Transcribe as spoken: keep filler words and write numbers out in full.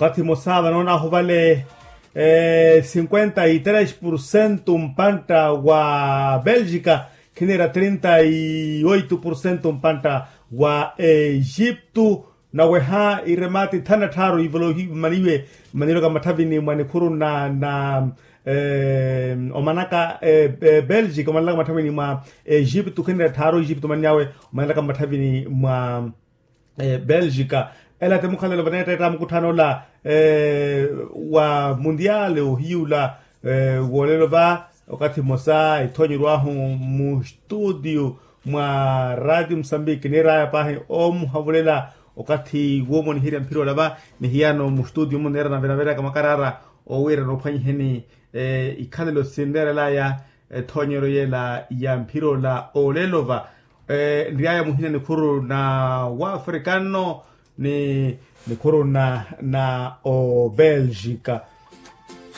Wakathi mosa vanoona ahu vale cinquenta y tres por cento mpantta wa belgica, khinira trinta y oito por cento mpantta wa egipto. Naweha iremati thana tthaaru ivolohi mmaniwe, mmanilwaka mmatthavini mwa nikhuru na na omanaka belgica omanilaka mmatthavini mwa egipto khinira tthaaru egipto omanilaka mmatthavini mwa belgica. Ela ti mukhalelo vaneettetta mukutthaano ola wa mundial ohiyula woolelo va. Wakathi mmosa ethoonyeryo ahu mustutio mwa ratio musambiki niir'aya paahi omuhavulela wakathi woomoniherya mphira ola va. Ni hiyano mustutio muneera navenaveraka makaraara owiira noophwanyiheni ikhalelo sinneerel'aya ethoonyeryo yeela ya mphira ola olelo va. Nry'aya muhina nikhuru na wafrika nno ni nikhuru na obelgica.